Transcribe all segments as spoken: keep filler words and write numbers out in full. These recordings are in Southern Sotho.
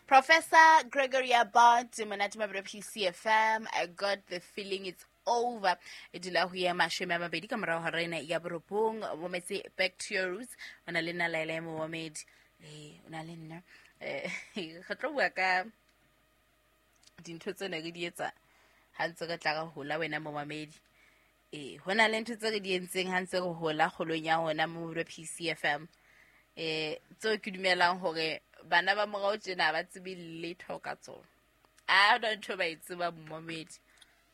Professor Gregory Abbott, monate mabelo P C F M. I got the feeling it's over. E dula ho ya mashome a mabedi ka morao hora ena ya borobong. Mometse back to your roots. O na le nna Laila Momamedi. Eh, o na le nna. Eh, re tlo bua ka dintho tse ne re di etsa ha ntse re tla re hola wena momamedi. Eh, ho na le ntho tse re di entseng ha ntse re hola kgolong ya rona mo P C F M. Eh, tseo ke dumelang hore bana ba morao tjena ba tsebe letho ka tsona. A hona ntho ba e tsebang momamedi.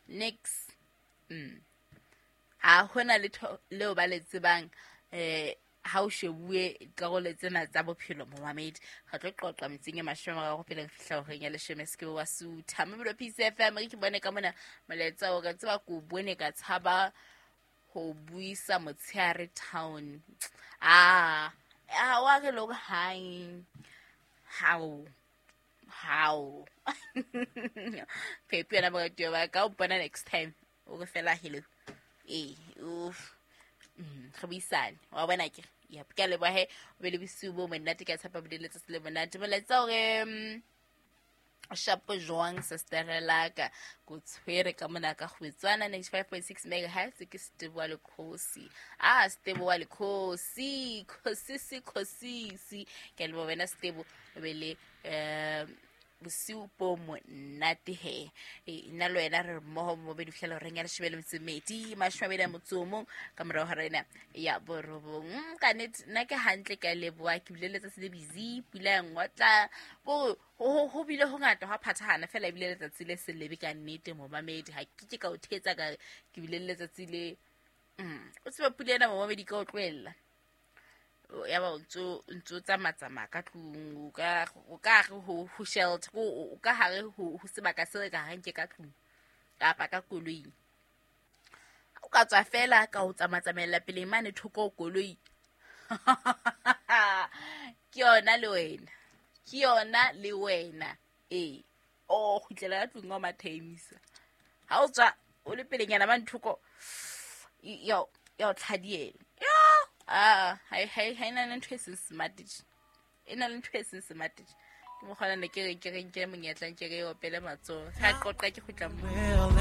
Next. Mm. Ha hona letho leo ba le tsebang, eh, ha o shebuwe dikarolo tsena tsa bophelo momamedi. Re tlo qoqa metsing e mashome a mararo pele re fihla horeng ya leshome se ke wa sutha. Mabelo P C F M, re ke bone ka mona molaetsa o re tseba ko bone ka tshaba ho buisa motshehare town. Ah, ah, wa re lo hang. How? How? Pepe yena moratuwa wa ka, o mpona next time. O re fela hello. Eh, uff. Mm, re buisane. Wa bona ke? Yep, ke a leboha he. O be le bosiu bo monate, ke a tshepa bo letsatsi le monate. Molaetsa o re, mm, shapo jwang sister la ka, ko tshwere ka mona ka Kgwetswana ninety-five point six megahertz, ke Stebo wa Lekgosi. Ah, Stebo wa Lekgosi, Kgosisi, Kgosisi. Ke a leboha wena Stebo, o be le, eh, bosiu bo monate he. E, nna le wena re mmoho mo be di fihlela horeng ya leshome le metso e mmedi, mashome a mabedi a motso o mong, ka morao hora ena ya borobong. Mm, ka nnete, nna ke hantle, ke a leboha. Ke bile letsatsi le busy, pula ya ngotla. Bo, ho, ho, ho bile ho ngata, hwa phathahana fela ebile letsatsi le se lebe ka nnete momamedi. Ha ke ke ka o thetsa ka, ke bile letsatsi le, mm, o tsebe pula ena momamedi ka o tlohella. O, ya ba o ntso, ntso tsamatsamaya ka tlung, o ka, o ka hare ho, ho shelter, o, o ka hare ho, ho sebaka se ka hareng ke ka tlung kapa ka koloing. O ka tswa fela ka ho tsamatsamaela pele mane thoko ho koloi. Ke yona le wena. Ke yona le wena. Ee. O kgutlela ka tlung wa mathemisa. Ha o tswa o le pelenyana mane thoko, ya, ya o tlhadiela. Yo! Ah, ha e, ha e, ha e na le ntho e seng smart tje. E na le ntho e seng smart tje. Ke mokgwa ona ne ke re, ke re nke monyetla, nke re opele matsoho. Ha qoqa ke kgutla moo.